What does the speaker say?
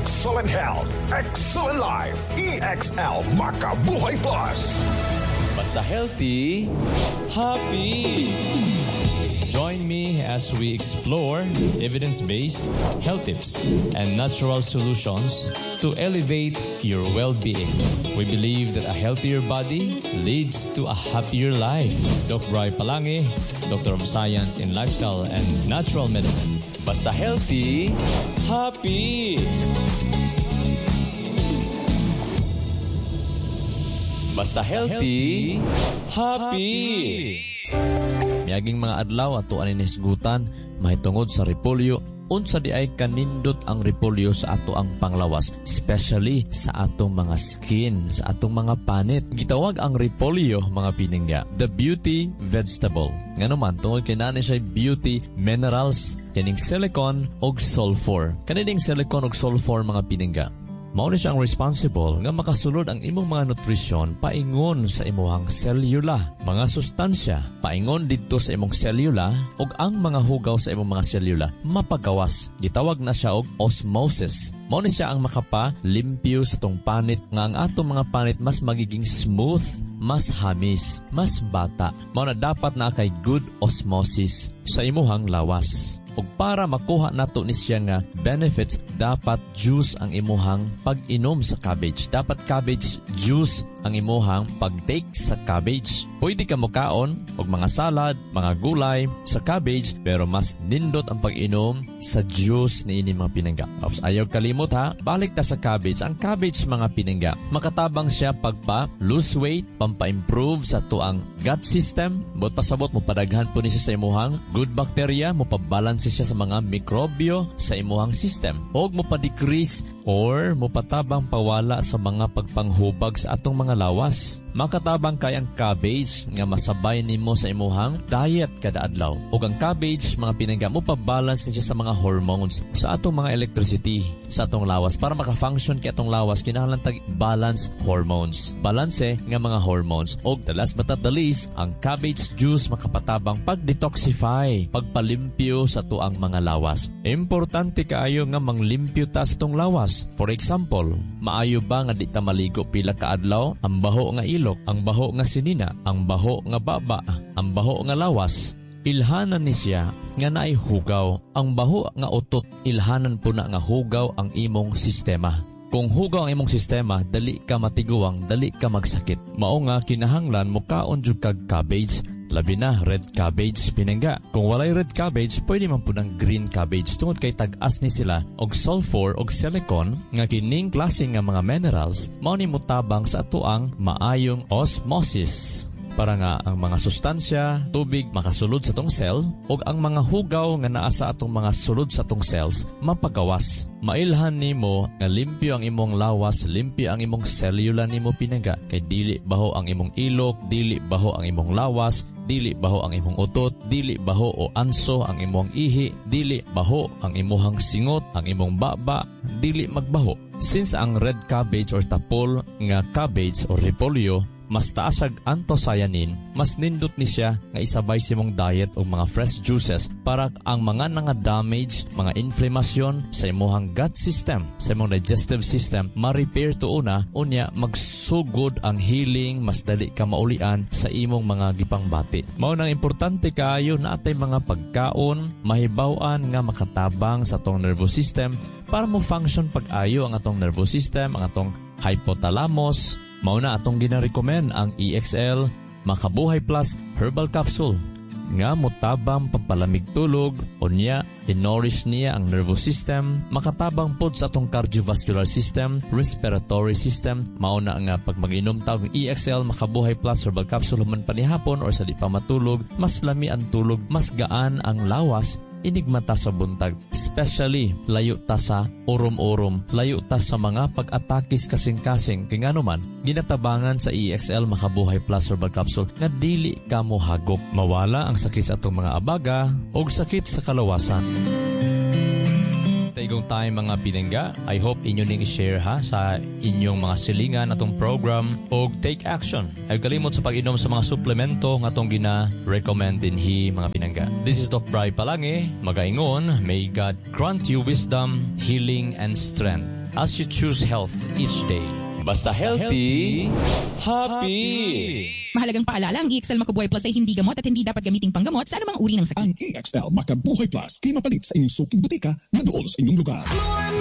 Excellent health, excellent life. EXL Makabuhay Plus. Basta healthy, happy. Join me as we explore evidence-based health tips and natural solutions to elevate your well-being. We believe that a healthier body leads to a happier life. Doc Bry Palangi, Doctor of Science in Lifestyle and Natural Medicine. Basta healthy, happy. Basta healthy, happy. Miaging mga adlaw ato ani nisgutan mahitungod sa repolyo. Unsa di ay kanindot ang repolyo sa ato ang panglawas, especially sa atong mga skin, sa atong mga panit. Gitawag ang repolyo, mga piningga, the beauty vegetable. Ngano man, tungod kay naa ni siya beauty minerals kining silicon og sulfur. Kanining silicon og sulfur, mga piningga, mao ni siya ang responsible nga makasulod ang imong mga nutrisyon paingon sa imuhang selula, mga sustansya paingon didto sa imong selula ug ang mga hugaw sa imong mga selula mapagawas. Gitawag na siya og osmosis. Mao ni siya ang makapa-limpyo sa tong panit nga ang atong mga panit mas magiging smooth, mas hamis, mas bata. Mao na dapat na kay good osmosis sa imuhang lawas. Ug para makuha nato ni siya nga benefits, dapat juice ang imuhang pag-inom sa cabbage. Dapat cabbage juice ang imuhang pag-take sa cabbage. Pwede ka mukaon og mga salad, mga gulay sa cabbage, pero mas nindot ang pag-inom sa juice niini, mga pinangga. Tapos ayaw kalimot ha, balik ta sa cabbage. Ang cabbage, mga pinangga, makatabang siya pagpa lose weight, pampa-improve sa tuang gut system, but pasabot mo padaghan po ni siya sa imuhang good bacteria, mo pa-balance siya sa mga mikrobyo sa imuhang system. Og mo pa-decrease or mopatabang pawala sa mga pagpanghubag sa atong mga lawas. Makatabang kay ang cabbage nga masabay nimo sa imuhang diet kada adlaw. Ug ang cabbage, mga pinangga, mo pa-balance ni siya sa mga hormones sa atong mga electricity sa atong lawas. Para maka-function kay atong lawas, kinahanglan tag balance hormones. Balanse nga mga hormones. Og the last but not the least, ang cabbage juice makapatabang pag-detoxify, pagpalimpyo sa tuang mga lawas. Importante kaayo nga manglimpyo ta sa atong lawas. For example, maayo ba nga di ta maligo pila ka adlaw? Ang baho nga ilok, ang baho nga sinina, ang baho nga baba, ang baho nga lawas, ilhanan ni siya nga naay hugaw. Ang baho nga utot, ilhanan po na nga hugaw ang imong sistema. Kung hugaw ang imong sistema, dali ka matiguang, dali ka magsakit. Mao nga kinahanglan mukaon jud kag cabbage, labi na red cabbage, pinangga. Kung walay red cabbage, pwede man pud ang green cabbage tungod kay tag-as ni sila og sulfur og silicon nga kining klase nga mga minerals mao ni motabang sa atoang maayong osmosis para nga ang mga sustansya, tubig makasulod sa tong cell ug ang mga hugaw nga naa sa atong mga sulod sa atong cells mapagawas. Mailhan nimo nga limpyo ang imong lawas, limpyo ang imong selula nimo, pinangga, kay dili baho ang imong ilok, dili baho ang imong lawas, dili baho ang imong utot, dili baho o anso ang imong ihi, dili baho ang imuhang singot, ang imong baba, dili magbaho. Since ang red cabbage or tapol nga cabbage or repolyo mas taas ag anthocyanin, mas nindot ni siya nga isabay sa imong diet og mga fresh juices para ang mga nga damage, mga inflamasyon sa imong gut system, sa imong digestive system, ma-repair to una, unya magsugod ang healing, mas dali ka maulian sa imong mga gipangbati. Mao nang importante kaayo na atay mga pagkaon, mahibaw-an nga makatabang sa atong nervous system para mo function pag-ayo ang atong nervous system, ang atong hypothalamus. Mao na atong gina-recommend ang EXL Makabuhay Plus Herbal Capsule nga motabang pampalamig tulog, unya i-nourish niya ang nervous system, makatabang pod sa atong cardiovascular system, respiratory system. Mao na nga pag mag-inom ta og EXL Makabuhay Plus Herbal Capsule human panihapon or sa di pa matulog, mas lami ang tulog, mas gaan ang lawas inigmata sa buntag. Especially, layo ta sa urom-urom, layo ta sa mga pag-atakis kasing-kasing. Kaya nga naman, ginatabangan sa EXL Makabuhay Plus Herbal Capsule nga dili ka mo hagop. Mawala ang sakit sa atong mga abaga o sakit sa kalawasan. Taigong tayo, mga pinangga. I hope inyo ning i-share ha sa inyong mga silingan atong program og take action. Ay kalimot sa pag-inom sa mga suplemento nga atong gina-recommend dinhi, mga pinangga. This is Doc Bry Palangi, magaingon, may God grant you wisdom, healing, and strength. As you choose health each day. Basta healthy, happy! Mahalagang paalala, ang EXL Makabuhay Plus ay hindi gamot at hindi dapat gamiting panggamot sa anumang uri ng sakit. Ang EXL Makabuhay Plus kay mapalit sa inyong suking botika na dool sa inyong lugar. More